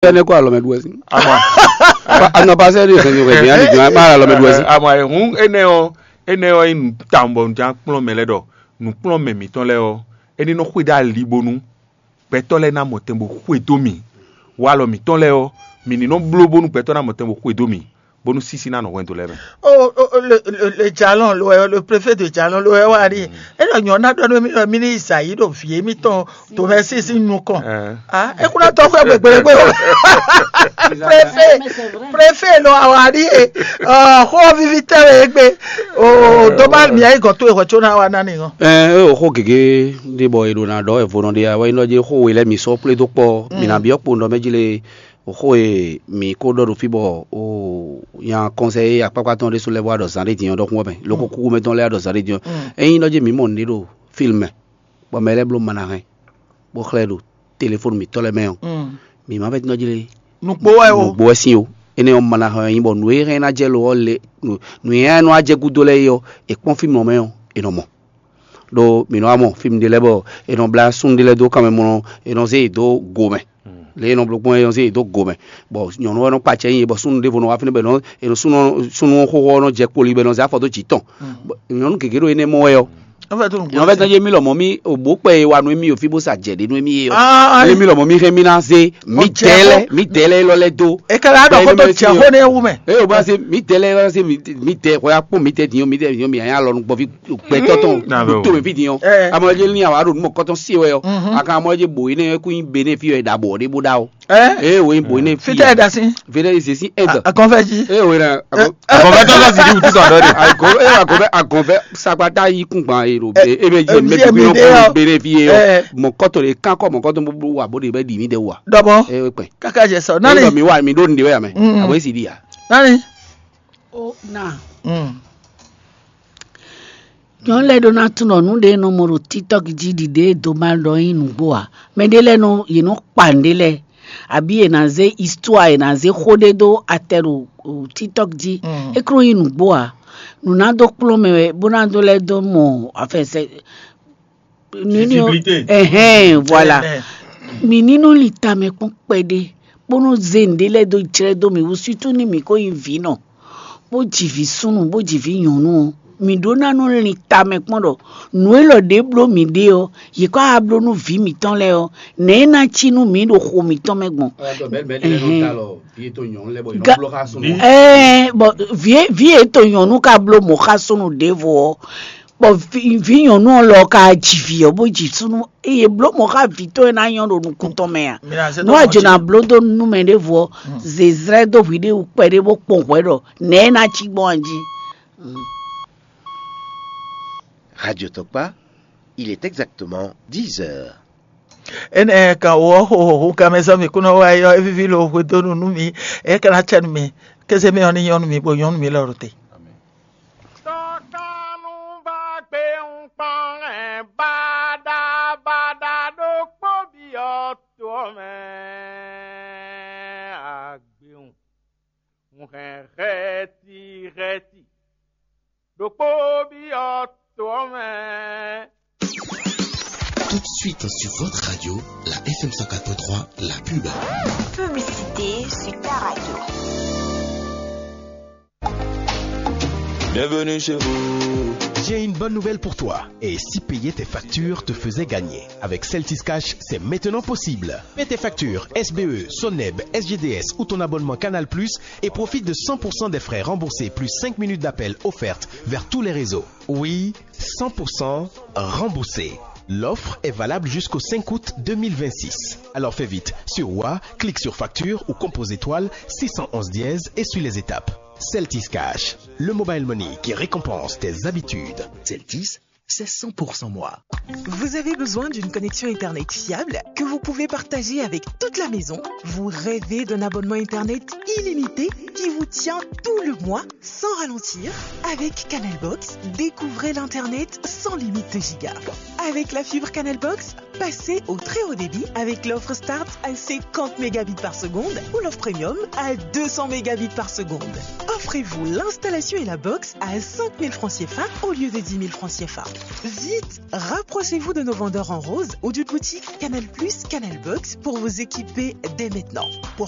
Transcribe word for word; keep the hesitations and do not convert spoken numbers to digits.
Énɛ́ kó alɔ mɛ ɖu wɛ sín. Ama. Anɔ pasɛ ɖe hɛn hɛn hɛn ani jɔn ma alɔ mɛ ɖu wɛ sín. Ama, ehun enɛ ɔ, enɛ ɔ yi nu tawun bɔ njan kplɔn mɛ lɛ ɖɔ nukplɔn mɛ mǐtɔn lɛ ɔ, eni nɔ xwedó ali bónú gbɛtɔ́ lɛ ná mɔ tɛn bó xwedó mì. Walɔ mǐtɔn lɛ ɔ, mǐ ní nɔ bló bónú gbɛtɔ́ ná mɔ tɛn bó xwedó mì, bónú sísí ná nɔ hwɛndo lɛ mɛ. Oh, oh, oh, le, le, le jalon lo, le préfet de jalon lo, wa ri. E lɔ nyɔ na dɔ mi lɔ mi ni Isayi ɖo vi mi tɔn to mɛ sísí nukɔn. Ah, e kuna tɔ fɛ gbegbelegbe o. Préfet, préfet lɔ awa ri e. Oh, xo vivi tɛ we egbe. Oh, dommage mi ayi gɔn to e xɔ tso na wa na ni gɔn. Ɛ, o xo gege ɖe bɔ e ɖo na ɖɔ evo nɔ ɖe ya wɛ nɔ je xo we lɛ mi sɔ kple do kpɔ mi na biɔ kpo nɔ mɛ ji le. Xó e mǐ ko ɖɔ ɖo fí bɔ o nya kɔnsɛyi akpákpá tɔn ɖésú lɛ́ɛ vɔ wá ɖɔ zǎn ɖé din ɔ́ ɖɔkun wɛ mɛ, loko kúkú mɛ tɔn lɛ́ɛ wá ɖɔ zǎn ɖé din ɔ́. Ényí nɔ jí mǐ mɔ nǔɖé ɖo fílm mɛ, bɔ mɛ lɛ́ɛ bló manahɛn, bó xlɛ́ ɖo telefónu mǐtɔn lɛ́ɛ mɛ ɔ́, mǐ ma vɛ́ nɔ jí lé. Nǔgbó wɛ o. Nǔgbó wɛ sín o. Énɛ́ ɔ́, manahɛn ɔ́ nyí bɔ nǔ e hɛn ná jɛ lo ɔ́ le nǔ e hɛn nɔ wá jɛ gúdo lɛ́ɛ é ɔ́, è kpɔ́n fímlɔ mɛ ɔ́, è nɔ mɔ. Ɖó mǐ nɔ wá mɔ fí ɖé lɛ́ɛ bɔ è nɔ blá súnnu ɖé lɛ́ɛ dó kanmɛ mɔ è nɔ zé yě dó go mɛ. Lě e è nɔ bló gbɔn é, è nɔ zé yě dó go mɛ. Bɔ nyɔ̌nu ɔ́ nɔ kpa acɛ nyi yě, bɔ súnnu ɖěvo nɔ wá fínɛ́ bɔ è nɔ è nɔ súnnu súnnu xóxó ɔ́ nɔ jɛ kpoli bɔ è nɔ zé afɔ dó jǐ tɔn. Bɔ nyɔ̌nu gěgé ɖo énɛ́ mɔ wɛ ɔ́. Nyɔ̌nu vɛ́ tɔn yé mì lɔmɔ̌ mí òbó kpɛ e wa nú émí o fí bó sa jɛ ɖě nú émí é ɔ́. Ényí mì lɔmɔ̌ mí hɛn mì ná zé mǐ dɛ́ lɛ́ɛ mǐ dɛ́ lɛ́ɛ élɔ́ lɛ́ɛ dó. È ka lǎ ɖɔ xó tó jɛ xó nɛ́ wú mɛ. Eye o bá se mí tɛ lɛ se mí tɛ xɔ ya kpɔn mí tɛ diɲɔ mí tɛ diɲɔ mí anya lɔ nùgbɔ fi gbɛtɔ tɔn tó mi fi diɲɔ. Amɔ ye ní awa ɖo numɔ kɔtɔn si wɛ yɔ. Aka amɔ ye bo yi ne ku yi be ne fi yɔ da bɔ de bo da o. Ee wo yi bo ne fi. Fitɛ da si. Fitɛ yi se si ɛgɛ. Akɔnfɛ ji. Ee wo yi na. Akɔnfɛ tɔ sɔ si di wutu tɔ dɔ de. Akɔnfɛ akɔnfɛ akɔnfɛ sakpata yi kun gban yi do. E bɛ yi mɛ bi yɔ be ne fi yɔ. Mɔ kɔtɔ de kan kɔ mɔ kɔtɔ bo wa bo de bɛ di mi de wa. Dɔbɔ. Ee o kpɛ. Kaka jɛ sɔ. Nani? Mi wa mi ɖo ŋɖe wɛ ya mɛ. Abo esi ɖi ya. Nani? O na. Nyɔnu lɛ́ɛ ɖó ná tunɔ nǔ ɖé e nɔ mɔ ɖo TikTok jí ɖiɖe e doma ɖɔ nyí nǔgbó ǎ. Mɛɖé lɛ́ɛ nɔ yě nɔ kpa nǔɖé lɛ́ɛ, abǐ yě ná zé histoire, yě ná zé xó ɖé dó atɛ ɖo TikTok jí. É kún nyí nǔgbó ǎ. Nǔ ná dó kplɔ́n mɛ wɛ bó ná dó lɛ́ dó mɔ afɛsɛ. Nínú Visibilité. Ɛhɛn, voilà. Ɛhɛn. Mi ní nɔ li tamɛ kpɔn kpɛɖé, bó nɔ zé nǔɖé lɛ́ɛ dó jlɛ́ dó mì wú, sútú ní mǐ ko nyí vǐ nɔ, bó ji vǐ súnnu, bó ji vǐ nyɔ̌nu ɔ́, mǐ ɖó ná nɔ li tamɛ kpɔn ɖɔ nǔ élɔ́ ɖě bló mǐ ɖe ɔ́, yě kɔ wá bló nú vǐ mǐtɔn lɛ́ɛ ɔ́, nɛ̌ é ná cí nú mǐ ɖo xo mǐtɔn mɛ gbɔn? Ɛɛ, bɔ vǐ e to nyɔ̌nu lɛ́ɛ bɔ yě nɔ Ga- bló xá súnnu. Ɛɛ, bɔ vǐ e- vǐ e to nyɔ̌nu ka bló mɔ̌ xá súnnu ɖěvo ɔ́, bɔ vǐ vǐ nyɔ̌nu ɔ́ lɔ ka ji vǐ ɔ́ bó ji súnnu, eye bló mɔ̌ xá vǐ tɔn e ná nyɔ́ ɖo nukún tɔn mɛ a? Nú a jǒ ná bló dó nú mɛ ɖěvo ɔ́, zězlɛ́ dó hwi ɖé wú kpɛɖé bó kpɔn hwɛ̌ ɖɔ nɛ̌ é ná cí gbɔn a jí? Radio Tokpa, il est exactement dix heures. Énɛ́ kan wǒ ɔ́ xo xo kanmɛ sɔ́ mì kún nɔ wá yɔ é víví lo hwedónu nú mi, é ka ná cɛ nú mi, kéze mɛ ɔ́ ní nyɔ́ nú mi, bó nyɔ́ nú mi lɔ ɖo te. Tɔkanu va gbe ŋkpɔn hɛn baɖa baɖa ɖokpó byɔ́ to ɔ́ mɛ agbewun. Un hɛn hɛti hɛti ɖokpó byɔ́ to ɔ́ mɛ. Tout de suite sur votre radio, la F M cent quatre point trois, la pub. Publicité sur ta radio. Bienvenue chez vous. J'ai une bonne nouvelle pour toi. Et si payer tes factures te faisait gagner ? Avec Celtis Cash, c'est maintenant possible. Paiez tes factures S B E, Soneb, S G D S ou ton abonnement Canal Plus et profite de cent pour cent des frais remboursés plus cinq minutes d'appel offertes vers tous les réseaux. Oui, cent pour cent remboursé. L'offre est valable jusqu'au cinq août deux mille vingt-six. Alors fais vite. Sur Wa, clique sur facture ou compose étoile six cent onze dièse et suis les étapes. Celtis Cash, le mobile money qui récompense tes habitudes. Celtis, c'est cent pour cent moi. Vous avez besoin d'une connexion Internet fiable que vous pouvez partager avec toute la maison ? Vous rêvez d'un abonnement Internet illimité qui vous tient tout le mois sans ralentir ? Avec Canalbox, découvrez l'Internet sans limite de giga. Avec la fibre Canalbox, passez au très haut débit avec l'offre Start à cinquante mégabits par seconde ou l'offre Premium à deux cents mégabits par seconde. Offrez-vous l'installation et la box à cinq mille francs C F A au lieu de dix mille francs C F A. Vite, rapprochez-vous de nos vendeurs en rose ou d'une boutique Canal Plus, Canal Box pour vous équiper dès maintenant. Pour